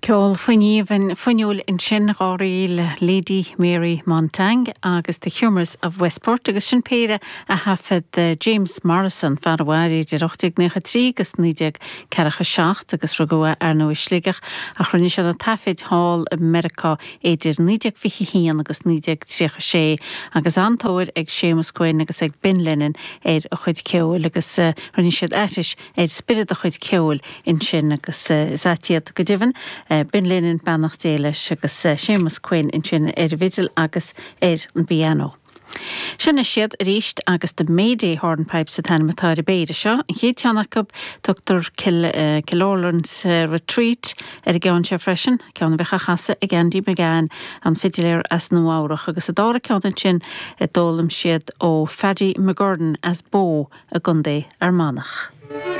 Ceol fuinníomhain fuinniúil ansin, dháiríre le Lady Mary Montague agus The Humours of Westport agus sin péire a thaifead James Morrison, fear a mhair idir 1893 agus 1947 agus rugadh é ar ndóigh i Sligeach ach rinne sé na taifid thall i Meiriceá idir 1921 agus 1936 agus an-tóir ag Séamus Quinn agus ag Ben Lennon ar a chuid ceoil agus rinne siad aithris ar spiorad a chuid ceoil ansin agus is ait iad go deimhin, Ben Lennon, beannacht Dé leis, agus Séamus Quinn ansin ar an bhfidil agus ar an bpianó. Seo anois iad arís agus The Mayday Hornpipes an t-ainm atá ar an bpéire seo. An chéad cheann acu, tugtar Kilorlan's Retreat ar an gceann seo freisin, ceann a bheadh á chasadh ag Andy McGann, an fidiléir as Nua Eabhrach, agus an dara ceann ansin a d'fhoghlaim siad ó Phaddy McGurran as Bow i gContae Fhear Manach.